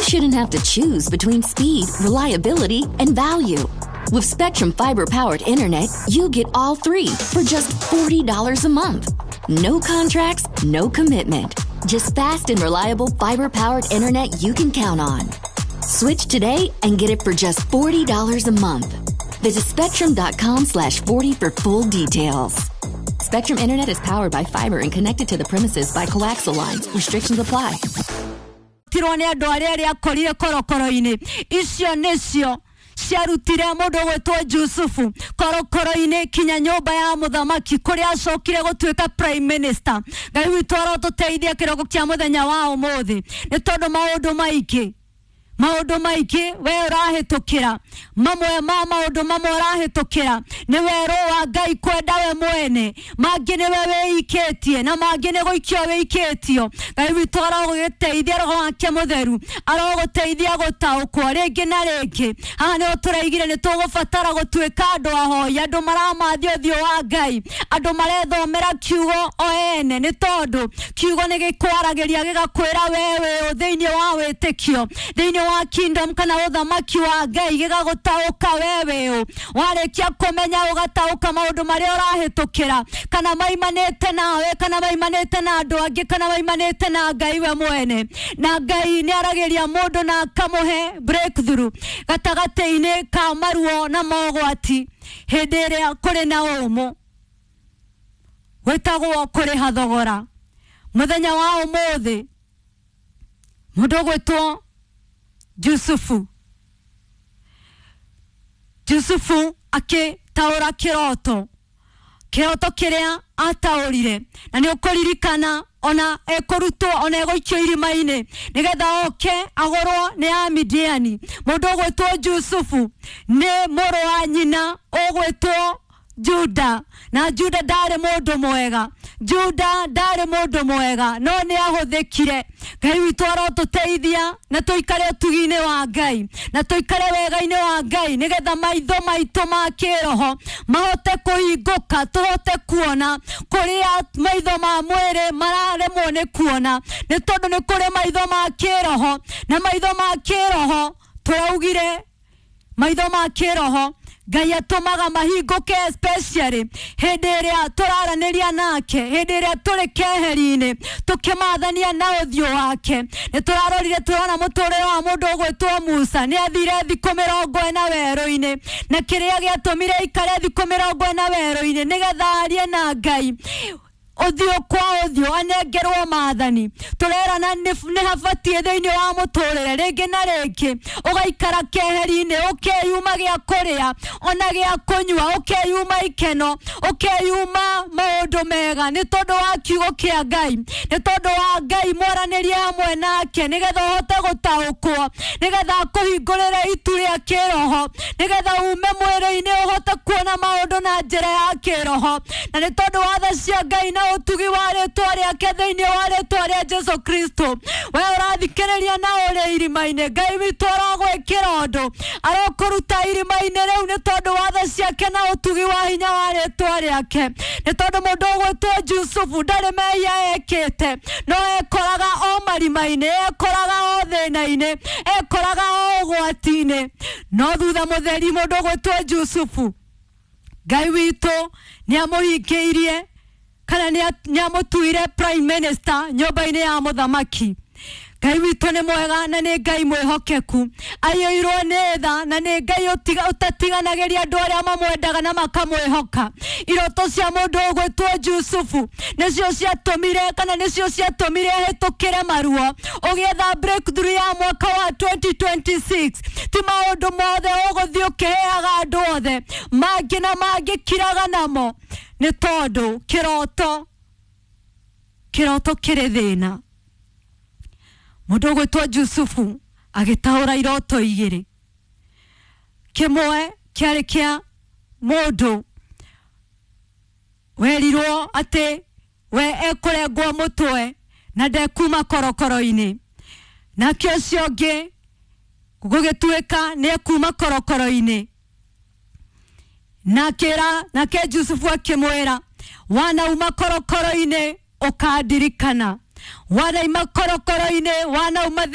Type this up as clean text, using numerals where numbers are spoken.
shouldn't have to choose between speed, reliability, and value. With Spectrum fiber-powered internet, you get all three for just $40 a month. No contracts, no commitment. Just fast and reliable fiber-powered internet you can count on. Switch today and get it for just $40 a month. Visit spectrum.com/40 for full details. Spectrum Internet is powered by fiber and connected to the premises by coaxial lines. Restrictions apply. Tirwo nĩ andũ arĩa arĩa akorire korokoro-inĩ icio nĩcio ciarutire mũndũ gwĩtwo Jusufu korokoro-inĩ kinya nyũmba ya mũthamaki kũrĩa acokire gũtuĩka prime minister. Ngai witũ arotũteithia kĩroko kĩa mũthenya wa ũmũthĩ, nĩ tondũ maũndũ maingĩ we ũrahĩtũkĩra, mamwe ma maũndũ mamwe ũrahĩtũkĩra nĩ werũ wa Ngai kwenda we mwene, mangĩ nĩwe wĩikĩtie na mangĩ nĩ gũikio wĩikĩtio. Ngai witũ arogũgĩteithia, Roho wake Mũtheru arogũteithia gũtaũkwo rĩngĩ na rĩngĩ. Haha nĩho tũraigire nĩ tũgũbatara gũtuĩka andũ ahoi, andũ maramathia ũthiũ wa Ngai, andũ marethomera kiugo o ene, nĩ tondũ kiugo nĩ gĩkwaragĩria gĩgakwĩra we wĩ ũ thĩinĩ wa wĩtĩkio, thĩinĩ wa kingdom kana ũthamaki wa Ngai, gĩgagũtaũka we wĩ ũ. Warĩkia kũmenya ũgataũka maũndũ marĩa ũrahĩtũkĩra, kana maimanĩte nawe, kana maimanĩte na andũ angĩ, kana maimanĩte na Ngai we mwene. Na Ngai nĩ aragĩria mũndũ na akamũhe breakthrough gatagatĩ-inĩ ka maruo na mogwati hĩndĩ ĩrĩa kũrĩ na ũmũ gwĩtagwo kũrĩha thogora. Mũthenya wa ũmũthĩ mũndũ ũgwĩtwo Jusufu akĩtaũra kĩroto, kĩroto kĩrĩa ataũrire, na nĩ ũkũririkana ona ekũrutwo ona egũikio irima-inĩ nĩgetha oke agũrwo nĩ Amidiani. Mũndũ ũgwĩtwo Jusufu nĩ mũrũ wa nyina ũgwĩtwo Juda, na Juda ndarĩ mũndũ mwega, Juda ndarĩ mũndũ mwega, no nĩ ahũthĩkire. Ngai witũ arotũteithia na tũikare ũtugi-inĩ wa Ngai, na tũikare wega-inĩ wa Ngai, nĩgetha maitho maitũ ma kĩroho mahote kũhingũka, tũhote kuona kũrĩa maitho ma mwĩrĩ mararemwo nĩ kuona, nĩ tondũ nĩ kũrĩ maitho ma kĩroho, na maitho ma kĩroho tũraugire maitho ma kĩroho Ngai atũmaga mahingũke especially hĩndĩ ĩrĩa tũraranĩria nake, hĩndĩ ĩrĩa tũrĩ keheri-inĩ tũkĩmathania na ũthiũ wake. Nĩ tũrarorire tũrona mũtũrĩre wa mũndũ ũgwĩtwo Musa, nĩ athire thikũ 40 werũ-inĩ, na kĩrĩa gĩatũmire aikare thikũ 40 werũ-inĩ nĩgetha arie na Ngai ũthiũ kwa ũthiũ, anengerwo maathani. Tũrerana nĩ habatiĩ thĩinĩ wa mũtũrĩre rĩngĩ na rĩngĩ ũgaikara keheri-inĩ, ũkeyuma gĩa kũrĩa ona gĩa kũnyua, ũkeyuma ikeno, ũkeyuma maũndũ mega, nĩ tondũ wa kiugo kĩa Ngai, nĩ tondũ wa Ngai mwaranĩrie hamwe nake, nĩgetha ũhote gũtaũkwo, nĩgetha akũhingũrĩre itu rĩa kĩroho, nĩgetha ume mwĩrĩ-inĩ ũhote kuona maũndũ na njĩra ya kĩroho. Na nĩ tondũ wa tha cia Ngai na ũtugi wa rĩtwa rĩake thĩinĩ wa rĩtwa rĩa Jesu Kristo, we ũrathikĩrĩria na ũrĩ irima-inĩ, Ngai witũ arogwĩkĩra ũndũ, arokũruta irima-inĩ rĩu nĩ tondũ wa tha ciake na ũtugi wa hinya wa rĩtwa rĩake. Nĩ tondũ mũndũ ũgwĩtwo Jusufu ndarĩ mehia ekĩte, no ekoraga o marima-inĩ, ekoraga o thĩna-inĩ, ekoraga o ũgwati-inĩ. No thutha mũtheri mũndũ ũgwĩtwo Jusufu, Ngai witũ nĩ amũhingĩirie kana nĩ amũtuire prime minister nyũmba-inĩ ya mũthamaki. Ngai witũ nĩ mwega na nĩ Ngai mwĩhokeku, aiyũirwo nĩ tha na nĩ Ngai ũtatiganagĩria andũ arĩa mamwendaga na makamwĩhoka. Iroto cia mũndũ ũgwĩtwo Jusufu nĩcio ciatũmire kana nĩcio ciatũmire ahĩtũkĩre maruo ũgĩetha breakthrough ya mwaka wa 2026. Ti maũndũ mothe ũgũthiĩ ũkĩheaga andũ othe, mangĩ na mangĩ kiraga namo, nĩ tondũ kĩroto kĩrĩ thĩna. Mũndũ ũgwĩtwo Jusufu agĩtaũra iroto igĩrĩ, kĩmwe kĩarĩ kĩa mũndũ werirwo atĩ we ekũrengwo mũtwe na ndekuma korokoro-inĩ, nake ũcio ũngĩ gũgĩtuĩka nĩ ekuma korokoro-inĩ. Nake Jusufu akĩmwĩra, wanauma korokoro-inĩ ũkandirikana, wanauma korokoro-inĩ, wanauma